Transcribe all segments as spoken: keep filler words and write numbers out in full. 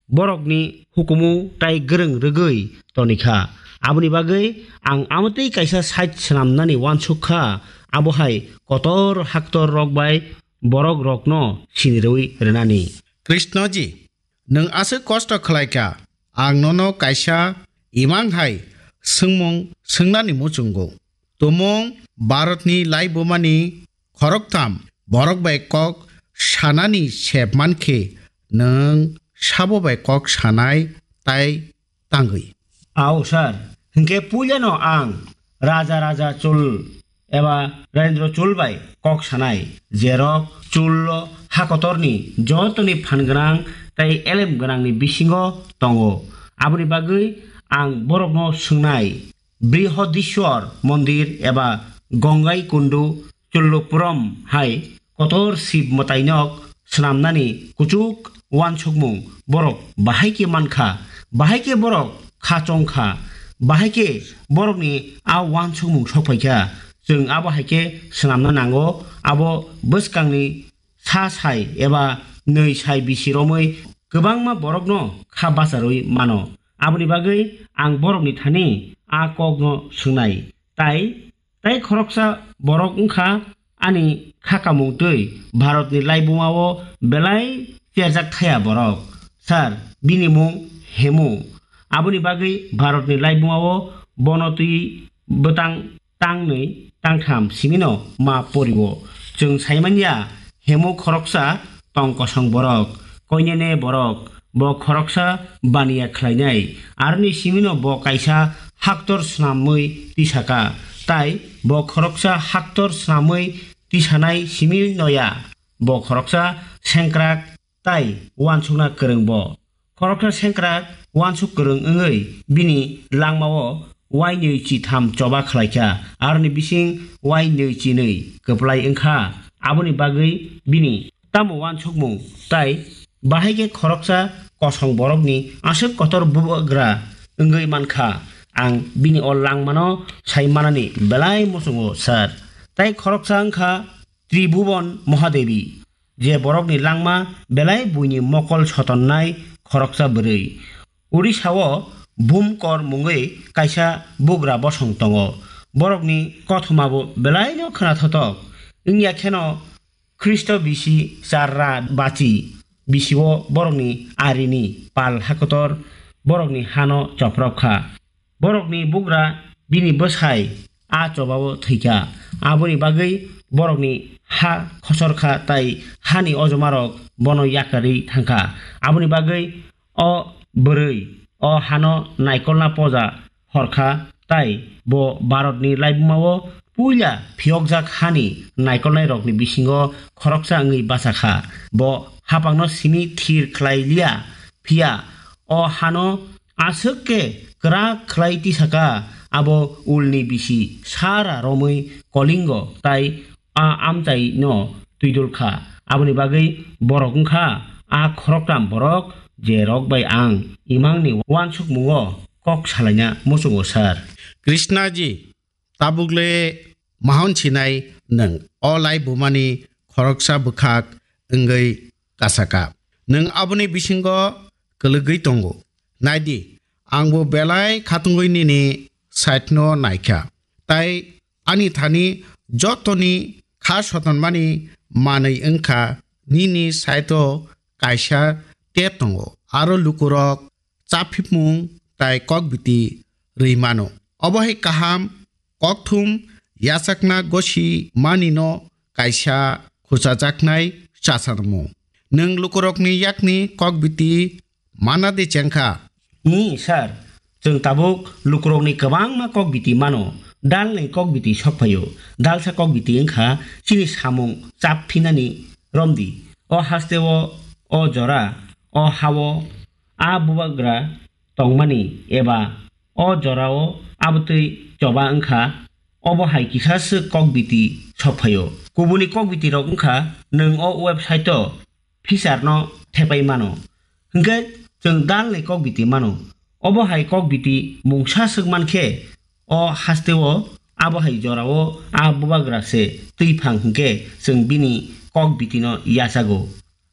borokni hukumu tai gwrwng rwgwi tonikha. Aboni bagwi ang amotwi kaisa site swnamnani uansuk kha, abo hai kotor haktor rok bai borok rokno sinirwi rwnani. Krishnaji, nwng aswk kosto khlai kha, ang nono kaisa imang hai swngmung swngnani muchungo. Tumung Bharatni laibumani khoroktham borok bai kok sanani sep mankhe nwng sabo bai kok sanai tai tangwi. Ao sir, hinkhe puilano ang Raja Raja Chul eba Rajendra Chul bai kok sanai, jerok Chul o hakotorni jotoni phan gwnang tei elem gwnangni bisingo tongo. Aboni bagwi ang borokno swngnai, Brihodishwar Mondir eba Gongai Kundu Chullupuram hai kotor Shiv mwtainok swnamnani kuchuk uansukmung borok bahai khe mankha, bahai khe borok kha chongkha, bahai khe borokni a uansukmung sokphaikha. Chwng abo hai khe swnamna nango, abo bwskangni sa sai eba nwi sai bisi romwi kwbangma borokno kha bacharwi mano. Aboni bagwi ang borokni thani a kokno swngnai, tai Tai khoroksa borok wngkha ani kha kamung twi Bharatni laibumao belai cherjak thaya borok. Sir, bini mung Hemu. Aboni bagwi Bharatni laibumao bono twi bwtang tangnwi tangtham simino ma porio. Chwng saimanya Hemu khoroksa tong kosong borok, koinene borok, bo khoroksa baniya khlainai, aroni simino bo kaisa haktor swnamwi tisaka, tai bo khoroksa haktor swnamwi tisanai simi noya, bo khoroksa sengkrak tai uansukna kwrwng bo. Khoroksa sengkrak uansuk kwrwng wngwi bini langmao wainwi chitham choba khlaikha, aroni bising wainwi chinwi kwplai wngkha. Aboni bagwi bini tamo uansukmung tai bahai khe khoroksa kosong borokni aswk kotor bubagra wngwi mankha. Ang bini o langmano sai manani belai muchungo, sir. Tai khoroksa wngkha Tribhuban Mahadevi, je borokni langma belai buini mokol sotonnai khoroksa bwrwi. Odisha-o Bhumkor mungwi kaisa bugra bosong tongo. Borokni kothomabo belaino khwnathotok. Wngya kheno Khristo bisi charra bachi bisio borokni arini pal hakotor borokni hano choprok kha. Borokni bugra bini bwsai a chobao thwikha. Aboni bagwi borokni ha khosor kha tai hani ojomarok bono yakarwi thangkha. Aboni bagwi o bwrwi o hano naikolna poja hor kha, tai bo Bharatni laibumao puila phiyokjak hani naikolnairokni bisingo khoroksa wngwi bacha kha. Bo haphangno simi thir khlai liya, phiya o hano aswk khe kwrak khlai tisaka, abo ulni bisi sara romwi Kolingo tai a amchaino twidul kha. Aboni bagwi borok wngkha a khoroktham borok, je rok bai ang imangni uansukmungo kok salaina muchungo, sir. Krishnaji, tabukle mahon sinai nwng o laibumani khoroksa bwkhak wngwi kasaka. Nwng aboni bisingo kwlwgwi tongo. Naidi, angbo belai khatungwi nini side-no naikha. Tai ani thani jotoni kha sotonmani manwi wngkha nini side-o kaisa tep tongo. Aro lukurok chaphimung tai kokbiti rwi mano. Obo hai kaham kokthum yachakna gosi manino kaisa khuchajaknai chasarmung. Nwng lukurokni yakni kokbiti mana de chengkha? Ni, sir, chwng tabuk lukurokni kwbangma kokbiti mano. Dalni kokbiti sokphaio. Dalsa kokbiti wngkha chini samung chap phinani romdi. O hasteo, o jora, o hao, a bubagra tongmani eba o jorao abotwi choba wngkha, obo hai kisa swk kokbiti sokphaio. Kubuni kokbiti rok wngkha nwng o website o feature no thepai mano. Hinkhe chwng dalni kokbiti mano. Obo hai kokbiti mungsa swk mankhe o hasteo abo hai jorao a bubagra se twiphang hinkhe chwng bini kokbiti no yachago.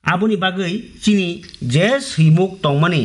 Aboni bagwi chini je swimuk tongmani